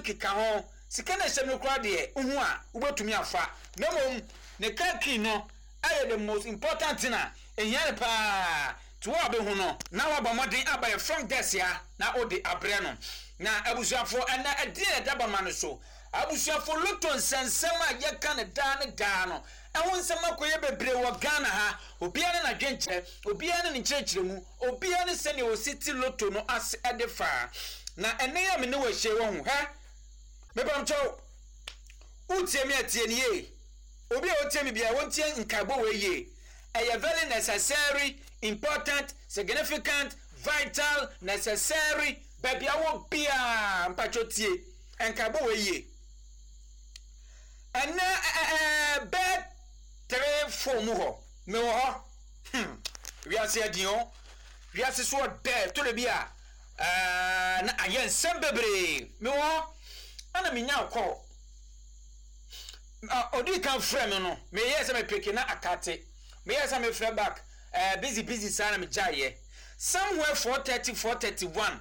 keka ho. Sika no a ɛhyɛ mu no koraa deɛ, wohu a, wobɛtumi afa. Na mmom, ne car key no yɛ the most important thing a ɛhia no paa. Nti wo a wobɛhu no, na woabɔ mmɔden aba yɛn front desk ha na wode abrɛ no. Na abusuafoɔ, ɛnnɛ ɛdeɛn na ɛda bama no so? Abusuafoɔ, lotto nsɛnsɛm a yɛka no daa ne daa no, ɛho nsɛm akɔyɛ bebree wɔ Ghana ha. Obiara ne n'adwenkyerɛ, obiara ne ne nkyerɛkyerɛmu. Obiara ne sɛnea osi te loto no ase de fa. Na ɛnnɛ yi a me ne wo ahyia yi, wahu? Hɛ! Mepamkyɛw, wotie me a, tie no yie. Obi a otie me biara, ontie nkaebɔ wei yie. Ɛyɛ very necessary, important, significant, vital, necessary, baabi a wɔ biara, mpakyɛw tie nkaebɔ wei yie. Ɛnnɛ ɛɛ bɛyɛ 3, 4 mu hɔ, mewɔ hɔ. Hmm, wiase adin o. Wiase so ɔdɛ, ɛtɔ da bi a, ɛɛ, na ayɛ nsɛm bebree. Mewɔ hɔ, ɛna menya kɔɔ. Ɔdii kan frɛ me no, meyɛɛ sɛ mepeke na akate. Meyɛɛ sɛ mefrɛ back, ɛɛ, busy busy saa na megyaeɛ. Somewhere 4:30, 4:31,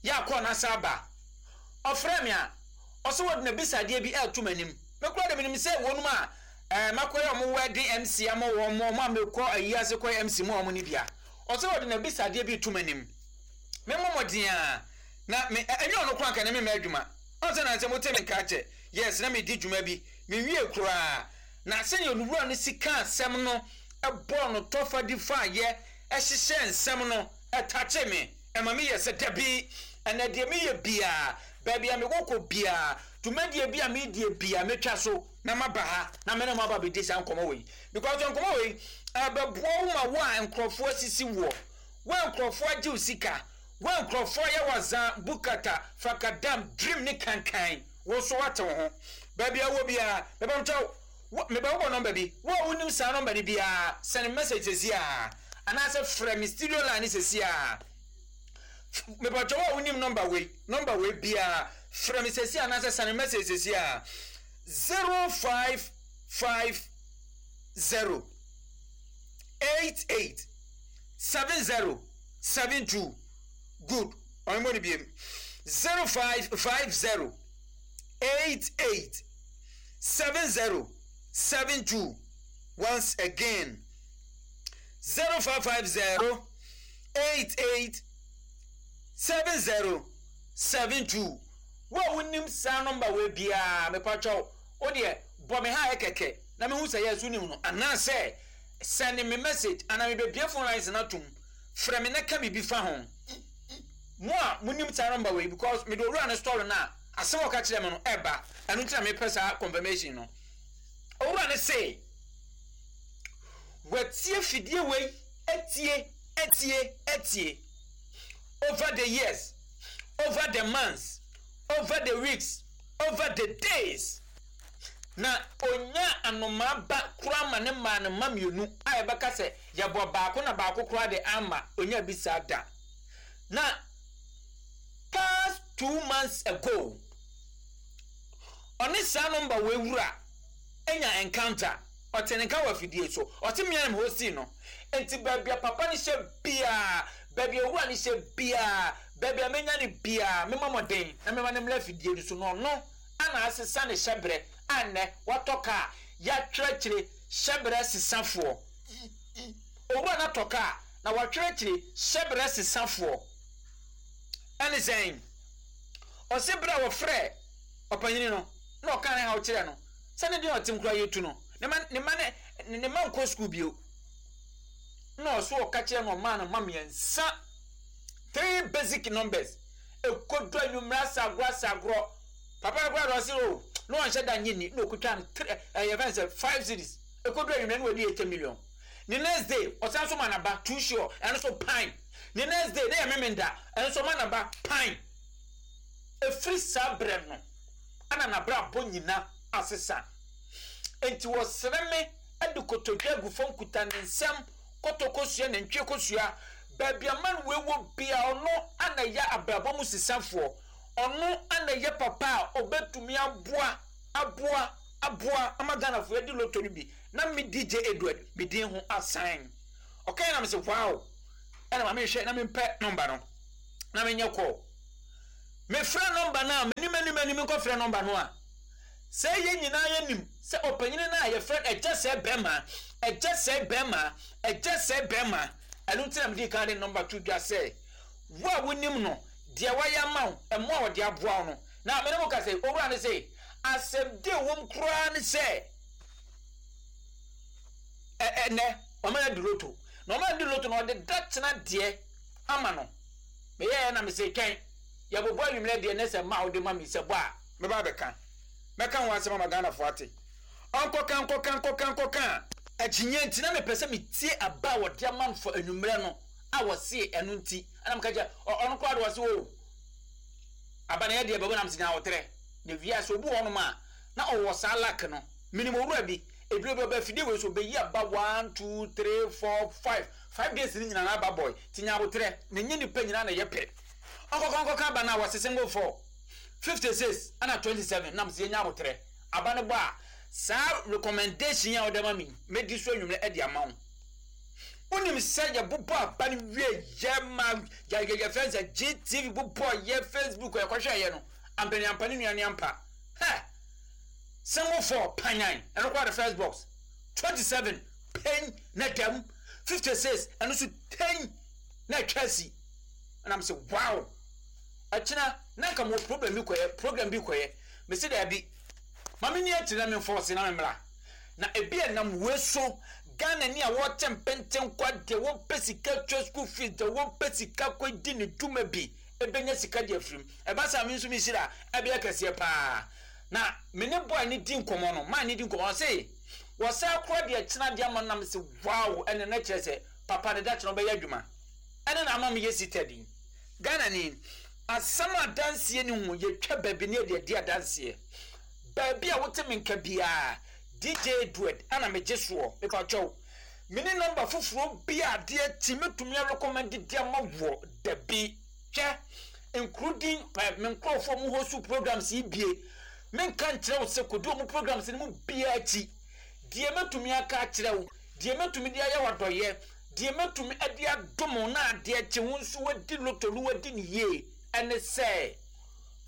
yɛ akɔɔ na asa aba. Ɔfrɛ me a, ɔsɛ wɔde n'abisadeɛ bi ɛreto m'anim. Me koraa de menim sɛ wɔnom a Ɛɛ makɔyɛ ɔmo wedding MC ama wɔn, ɔmo a mekɔ ayi ase kɔyɛ MC ma wɔn no bi a, ɔsɛ ɔde n'abisadeɛ bi to m'anim. Me mmɔ mmɔden a, na me, ɛnyɛ ɔno koraa nka na memma adwuma. Ɔn sɛ nansɛ mote me nka akyɛ, yes, na medi dwuma bi, menwie koraa. Na sɛnea owura no si kaa asɛm no, bɔɔ no tɔfa di faeɛ, hyehyɛɛ nsɛm no, ɛtakyee me. Ɛma meyɛ sɛ dabi, ɛnɛ deɛ meyɛ biara, baabi a mekɔ kɔ biara, dwumadie bi a meredie biara, mɛtwa so. na maba ha na me ne mo aba abɛdi saa nkɔmmɔ wei, because nkɔmmɔ wei ɛbɛboa wo ma wo a nkurɔfoɔ asisi woɔ, wo a nkurɔfoɔ agye wo sika, wo a nkurɔfoɔ ayɛ wo azan, bukata, fakadam, dream ne kankan, wo nso woate wo ho. Baabi a wowɔ biara, mebɛmkyɛ wo, mebɛbobɔ nɔmba bi, wo a wonim saa nɔmba no biara, send me message sɛsi ara, anaasɛ frɛ me studio line no sɛsi ara. Mebɛkyɛ wo a wonim nɔmba wei, nɔmba wei biara, frɛ me sɛsi ara anaasɛ send me message sɛsi ara. 0550 88 70 72. Good. Ɔno mo ne biem. 0550 88 70 72. Once again. 0550 88 70 72. Wo a wonim saa nɔmba wei biara, mepakyɛw, wo deɛ bɔ me haɛ kɛkɛ na mehu sɛ yes wonim no, anaasɛ sɛnde me message anaa mebɛbue phone lines no atom, frɛ me na ka biribi fa ho. Mo a monim saa nɔmba wei, because mede owura no story no a, asɛm a ɔka kyerɛɛ me no ɛba, ɛno nti na mepɛ saa confirmation no. Owura no se, watie fidie wei atie, atie, atie over the years. over the months, over the weeks, over the days. Na onyaa anomaa ba koraa ma ne maa no mma mmienu a yɛbɛka sɛ yɛbɔ baako na baako koraa de amma onyaa bi saa da. Na past 2 months ago, ɔne saa nɔmba wei wura anya encounter. Ɔte ne nka wɔ afidie so. Ɔte mmea na hostii no. Enti baabi a papa no hyɛ biara, baabi a owura no hyɛ biara, baabi a menya no biara, memmɔ mmɔden na memma no mmra afidie no so na ɔno na asesa ne hyɛberɛ a nnɛ watɔ kaa, yɛatwerɛ akyire, hyɛberɛ sesafoɔ. Owura no atɔ kaa na watwerɛ akyire, hyɛberɛ sesafoɔ. Ɛne sɛn? Ɔse berɛ a wɔfrɛɛ ɔpanyini no na ɔkaa ne haw kyerɛɛ no, Sɛ ne deɛ ɔtem koraa yɛtu no, ne ma ne ma ne ne ma nkɔ sukuu bio. Na ɔso ɔka kyerɛ no ɔmaa no ma mmiɛnsa, three basic numbers. Ekodu anwummerɛ asa agorɔ asa agorɔ. Papa no koraa de ɔse o na ɔnhyɛ da nye ni na okutwa no three ɛyɛ fɛn sɛ 5 cedis. Ekodu anwummerɛ na wadi 80 million. Ne next day ɔsan so ma n'aba too sure, ɛno so pan. Ne next day na yɛ memenda, ɛno so ɔma n'aba pan. Efiri saa berɛ no, ana n'abrabɔ nyina asesa. Enti wɔsrɛ me de kotodwe agu fam kuta ne nsam kɔtɔ kosua nantwie kosua. Baabi a man wei wɔ bia ɔno ana ɛyɛ abrabɔ mu sesafoɔ. Ɔno ana ɛyɛ papa a ɔbɛtumi aboa aboa aboa ama Ghanafoɔ adi lotto no bi. Na me DJ Edward me din ho asan. Ɔkae na mese wow, ɛna ma menhwɛ na mempɛ nɔmba no na menyɛ call. Mefrɛ nɔmba no a m'anim anim. anim nkɔfrɛ nɔmba no a, sɛ yɛn nyinaa yɛnim sɛ ɔpanyini no a yɛfrɛ no Agya Sɛɛ Bɛrima, Agya Sɛɛ Bɛrima, Agya Sɛɛ Bɛrima, ɛno nti na medii kan de nɔmba to dwa sɛ, wo a wonim no, deɛ wayɛ ama wo, mmoa a ɔde aboa wo no. Na me ne mo kasa yi, owura no se, asɛm di a ɛwom koraa ne sɛ, ɛ, ɛnnɛ, ɔma no adi loto. Na ɔma no di loto no, ɔde da kyena deɛ ama no. Meyɛɛ na mese, twɛn, yɛbobɔ anwummerɛ deɛ ne sɛ mma a wode ma me sɛ bɔ a, mɛba abɛka. Mɛka ho asɛm ama Ghanafoɔ ate. Ɔnkɔka, nkɔka, nkɔka, nkɔka a. Akyinnyeɛ nti, na mepɛ sɛ metie aba a wɔde ama no for anwummerɛ no a wɔse ɛno nti. Ɛna meka kyerɛ, ɔ, ɔno koraa de ɔse, oh, aba no yɛ deɛ bɛbɔ na mese nya ahoterɛ. Na wiase obi wɔ hɔnom a, na ɔwɔ saa luck no. Menim owura bi, ebire bi ɔba afidie wei so, ɔbɛyi aba one, two, three, four, five, five days no nyinaa na aba bɔe. Nti nya aboterɛ, na ɛnyɛ nnipa nyinaa na ɛyɛ pɛ. Ɔnkɔka nkɔka aba no a, wɔse single four, 56 ɛna 27 na mese yɛnya aboterɛ. Aba no bɔ a, saa recommendation yi a wode ama me yi, mɛdi so anwummerɛ de ama wo. Wonim sɛ yɛbobɔ aba no wie yɛ ma yɛfrɛ no sɛ GTV bobɔ yɛ Facebook yɛkɔhwɛeɛ no, ampaniampa ne nua ne ampa. Hɛ! Single four, panyan, ɛno koraa de first box. 27, pɛn na dam. 56, ɛno nso tɛn na atwa asi. Ɛna mese wow! Ɛkyena na nka mewɔ problem bi kɔyɛ, program bi kɔyɛ. Mese daabi, ma menni akyire na memfɔɔse na memmra. Na ebi a nam wei so, Ghanani a wɔte mpentenkwa deɛ wɔpɛ sika tua school fees, deɛ wɔpɛ sika kɔdi ne dwuma bi, ɛbɛnya sika de afiri mu. Ɛba saa a, me nso me nhyira ɛbɛyɛ kɛseɛ paa. Na me ne boy no di nkɔmmɔ no, man no di nkɔmmɔ, ɔse wɔsan kora deɛ kyena de ama no na mese wow, ɛne na kyerɛ sɛ papa no da kyena ɔbɛyɛ adwuma. Ɛne na ama meyɛ sitadi. Ghanani, asɛm a adanseɛ ni ho, yɛtwa baabi ne yɛde adi adanseɛ. Baabi a wote me nka biara, DJ Edward ana megye soɔ, mepakyɛw, meni nɔmba foforɔ bi a adeɛ kye mɛtumi arekɔmɛnde de ama woɔ, dabi. Hwɛ, nkuro din, eh, me nkurɔfoɔ a wɔn host programs yi bie, menka nkyerɛ wo sɛ kɔdi wɔn programs no mu biara akyi. Deɛ mɛtumi aka akyerɛ wo, deɛ mɛtumi de ayɛ wo adɔeɛ, deɛ mɛtumi de adom wo na adeɛ kye wo nso woadi loto no woadi no yie, ɛne sɛ,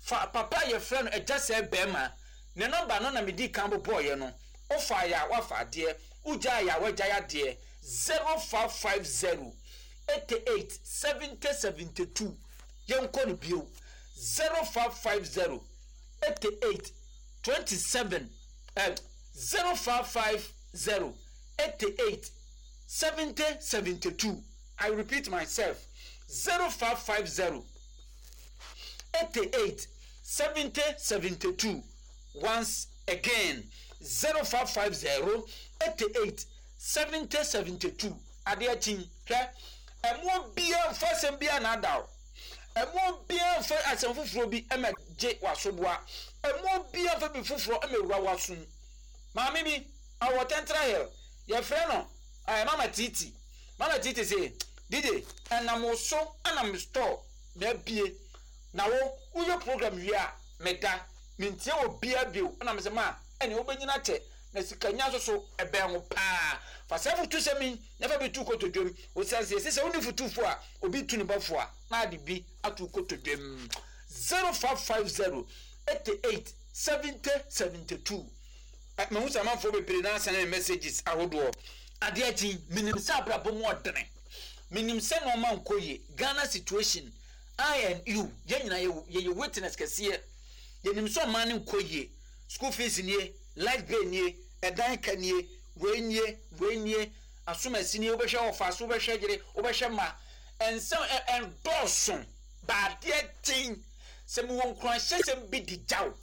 fa papa a yɛfrɛ no Agya Sɛɛ Bɛɛma, ne nɔmba no na medii kan bobɔeɛ no, wofaeɛ a woafa adeɛ, wogyaeɛ a woagyae adeɛ, 0550 88 70 72, yɛnkɔ no bio, 0550 88 27, eh, 0550 88 70 72, I repeat myself, 0550 88 70 72, once again, 0550 88 70 72, adeɛ kye hwɛ, ɛmoɔ biara mfa asɛm biara nnaada wo, ɛmoɔ biara mfa asɛm foforɔ bi mma gye w'asoboa, ɛmoɔ biara mfa biribi foforɔ mma wura w'asom. Maame bi, ɔwɔ Tɛntra Hill, yɛfrɛ no eh, Mama Titi. Mama Titi se, DJ, ɛnam wo so na me store na abie, na wo, woyɛ program wie a, meda, mentie obiara bio. Ɛna mese, ma, ɛneɛ wobɛnyini akyɛ. Na sikanya nso so, ɛbɛn wo paa. Fa saa afotusɛm yi na fa bi to wo kotodwem. Osiane sɛ yɛse sɛ wonni fotufo a, obi tu ne ba fo a, na ade bi ato wo kotodwem. 0550 88 70 72. Mahu sɛ amanfoɔ bebree na asɛne me messages ahodoɔ. Adeɛ akyi, menim sɛ abrabɔ mu ɔdene. Menim sɛ nnoɔma nkɔ yie. Ghana situation, I and you, yɛn nyinaa yɛyɛ witness kɛseɛ. Yɛnim sɛ ɔman no nkɔ yie. School fees nie, light bill nie, ɛdan ka nie, wei nie, wei nie, asomasi nie, wobɛhwɛ ɔfa so, wobɛhwɛ yere, wobɛhwɛ mma. Nsɛm ɛ ɛndɔɔso, ba adeɛ kyen. Sɛ mewɔ nkuranhyɛsɛm bi de gya wo,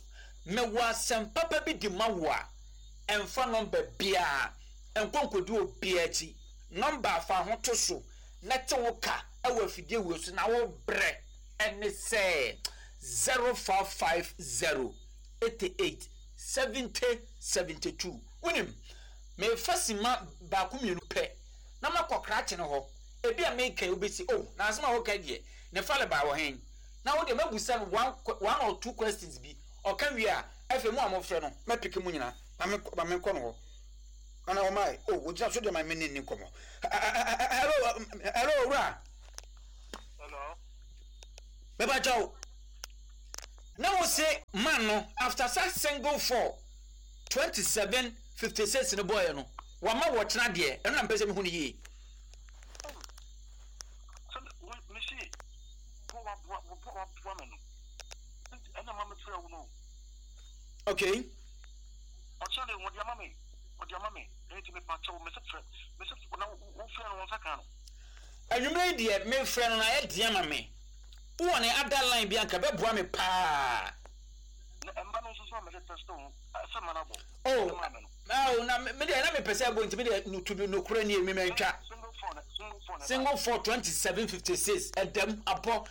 mewɔ asɛm papa bi de ma wo a, ɛmfa nɔmba biara nkɔ nkɔdi obiara akyi. Nɔmba a fa ho to so na te wo ka wɔ afidie wei so na wobrɛ ne sɛ 0550 88 70 72. Wonim, merefa simma baako mmienu pɛ na makɔ krakye no hɔ. Ebia mereka yi wobɛsi, oh, na asɛm a woka yi deɛ, ne farebae wɔ he? Na wo deɛ mɛbusa no one, one or two questions bi. Ɔka wie a, afei mo a mofrɛ no, mɛpeke mo nyinaa ma me, ma menkɔ no hɔ. Ana ɔmae? Oh, ogyina so deɛ ma me ne nni nkɔmmɔ. Hello, hello, owura. Hello. Mepa kyɛw. Na wo se man no after saa single 4 27 56 no bɔɔyɛ no, wama wɔkyena deɛ, ɛno na mpɛ sɛ mehu no yie. Oh, sɛ me se bɔ waboa waboa waboa me no, nti ɛna ma mefrɛ wo no. Okay. Ɔkyena de wɔde ama me, wɔde ama me, nti mepa kyɛw, mese frɛ, mese na wofrɛ no, wɔn nsa ka no. Anwummerɛ yi deɛ, mefrɛ no na ayɛ den ama me. Wowɔ ne other line bi anka bɛboa me paa. Na ɛmba no nso so a mede test wo sɛ ma no abɔ. Oh, ɛmaa me no. Oh, na me deɛ na mepɛ sɛ ɛbɔ, nti me deɛ no to bi nokorɛ nie, me mantwa. Single 4 na single 4 na Single 4 27 56 ɛdam abɔ.